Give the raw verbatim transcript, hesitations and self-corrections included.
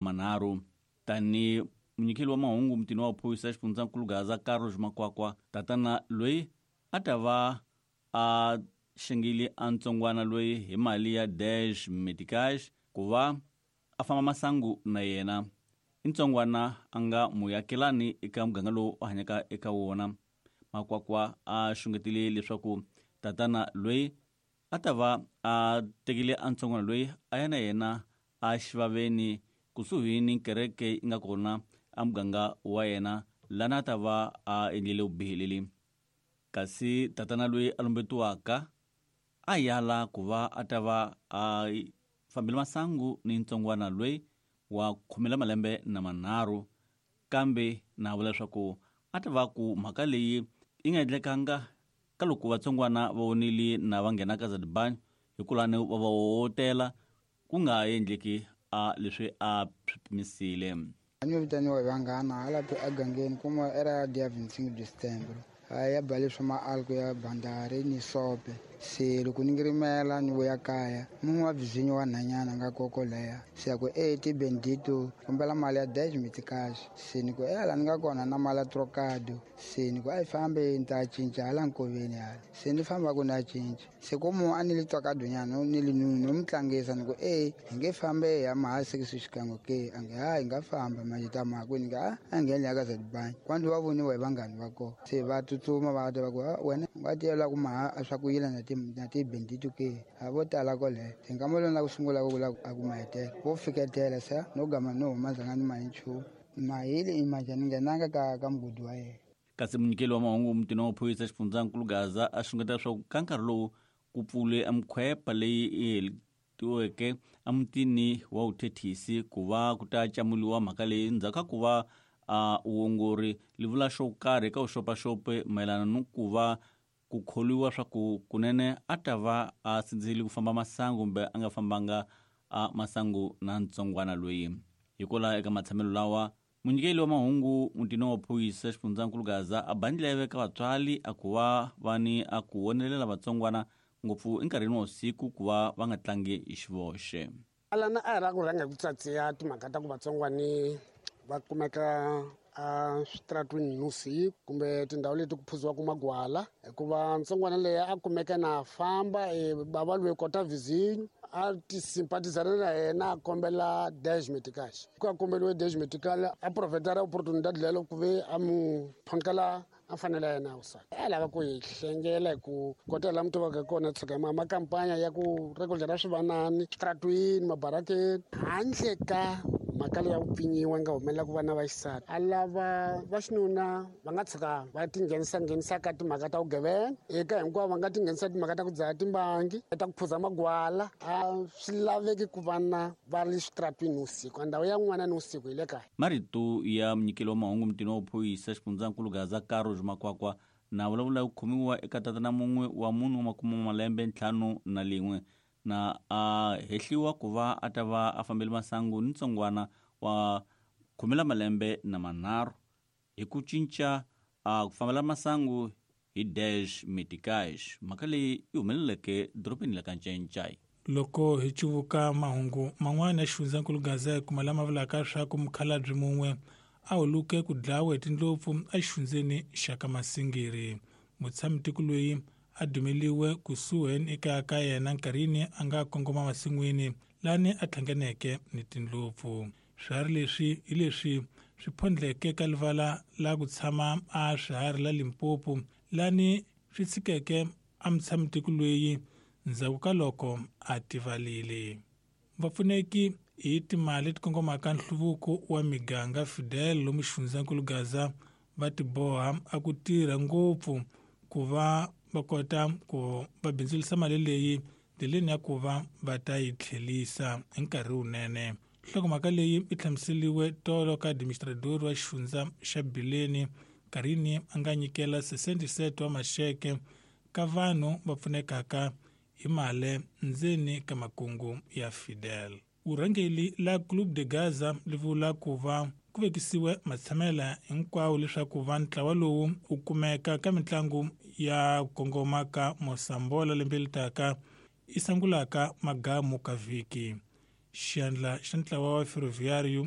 manharhu. Tani munyikeli wa mahungu mutini wa phorisa xifundzankulu Gaza Carlos Makwakwa, tatana loyi a ta va a xengile a ntsongwana loyi hi mali ya dash meticage ku va a famba masangu na yena. I ntsongwana a nga muakelani eka muganga lowu a hanyaka eka wona. Makwakwa a xungetile leswaku tatana loyi a ta va a tekile a ntsongwana loyi a ya na yena a xivaveni kusuhi ni kereke yi nga kona a muganga wa yena lana a ta va a endlile vubihi. Kasi tatana loyi a lumbetiwaka a yala ku va a ta va a fambile masangu ni ntsongwana loyi wa khume la malembe na manharhu, kambe na vula leswaku a ta va ku mhaka leyi yi nga endlekanga ka loko vatsongwana va vonile na va nghena ka Zadibani hikulani va va hotela ku nga endleki a leswi a swi pimisile. A ni vitaniwa hi vanghana hala egangeni kuma era dia vinte e cinco de setembro ya bale swa maalko ya bandari ni sope. Se loko ni ngirimela ni vuya kaya munhu wa vizinyo wa nhanyana nga koko leya se ya ku e ti bendito kombela mali ya dez meticage. Se ni ku e hala ni nga kona na mali ya trocado. Se ni ku a yi fambe ni ta cinca hala nkoveni hala. Se ni famba ku ni ya cinca. Se ko munhu a ni li trocado nyana ni li nunu ni n'wi tlangisa ni ku e hi nge fambe hi ya maha six xikan'we ke a nge ha hi nga famba manje ta maha kwini nga a ngheni ya ka Zadibani kwani va voniwa hi vanghani va kona. Se va tsutsuma va ta va ku wena u nga tiyela ku maha a swa ku yila na ti na ti bendito ke a vo tala kwale. Se nkama lowu na ku sungula ku vula a ku mahetela vo fiketela se no gama no huma zanga ni mahi nchumu mahili imanje ni nghenanga ka ka mugodi wa yena. Kasi munyikeli wa mahungu mutini wa phorisa xifundzankulu Gaza a xungeta leswaku ka nkarhi lowu ku pfule emikhwepa leyi yi heletiweke emutini wa vuthethisi ku va ku ta camuliwa mhaka leyi ndzhaku ka ku va a vuongori li vula xo karhi eka vuxopaxopi mayelana ni ku va ku kholiwa swa ku kunene a ta va a sindzisile ku famba masangu kumbe a nga fambanga a masangu na ntsongwana loyi. Hikwalaho eka matshamelo lawa munyikeli wa mahungu mutini wa phorisa xifundzankulu Gaza a ba ndleve ka vatswari a ku va va ni a ku vonelela vatsongwana ngopfu enkarhini wa vusiku ku va va nga tlangi hi xivoxe. Alana a hi lava ku rhanga hi ku tsatsiya timhaka ta ku vatsongwani va kumeka a switaratwini nusiku kumbe tindhawu leti ku phuziwaka magwala, hikuva ntsongwana leyi a kumeka na famba e bava loyi kota vizinyo a ti simpatizana na yena a kombela dez meticage. Ku a kombeliwe dez meticage a profetara opportunidade leyo ku ve a mu phonkela a fanele yena a vusati. A lava ku hi hlengela hi ku kota laha mi tivaka kona tshuka ma makampanya ya ku rekodlera swivanani switaratwini mabarakeni handle ka mhaka leyi ya ku pfinyiwa nga humelela ku vana va xisati. A lava va xinuna va nga tshuka va tinghenisa nghenisa ka timhaka ta vugevenga eka hinkwavo va nga tinghenisa timhaka ta ku dzaha timbangi ta ku phuza magwala. A swi laveki ku vana va ri switaratwini vusiku, ndhawu ya n'wana ni vusiku hi le kaya. Marito ya munyikeli wa mahungu mutini wa phorisa xifundzankulu Gaza Carlos Makwakwa na vulavula ku khomiwa eka tatana mun'we wa munhu wa makume malembe ntlhanu na lin'we na a hehliwa ku va a ta va a fambele masangu ni ntsongwana wa khume la malembe na manharhu hi ku cinca a ku fambela masangu hi dash meticage. Mhaka leyi yi humeleleke dorobeni la ka Ncencai. Loko hi cuvuka mahungu man'wana ya xifundzankulu Gaza hi kuma lama vulaka leswaku mukhalabye mun'we a huluke ku dlawa hi tindlopfu exifundzeni xa ka Masingiri. Mutshamitiko loyi a dumeliwe kusuhi ekaya ka yena nkarhini a nga kongoma masin'wini lani a hlanganeke ni tindlopfu. Swiharhi leswi hi leswi swi phondleke ka livala la ku tshama a swiharhi la Limpopo lani swi tshikeke a mutshamitiko loyi ndzhaku ka loko a tivalile. Vapfuneki hi timali leti kongomaka nhluvuko wa miganga Fidel lomu xifundzankulu Gaza va tiboha a ku tirha ngopfu ku va va kota ku va bindzurisa mali leyi ndleleni ya ku va va ta yi tlhelisa hi nkarhi wunene. Nhlokomhaka leyi yi hlamuseriwe tolo ka administrador wa xifundza xa Bileni nkarhini a nga nyikela sesenti wa maxeke ka vanhu va pfunekaka hi mali ndzeni ka makungu ya Fidel. Vurhangeri la Club de Gaza li vula ku va ku vekisiwe matshamela hinkwawo leswaku va ntlawa lowu wu kumeka ka mitlangu ya kongoma ka Mosambola lembe leri taka i sangulaka magamu ka vhiki. Xandla xa ntlawa wa Ferroviário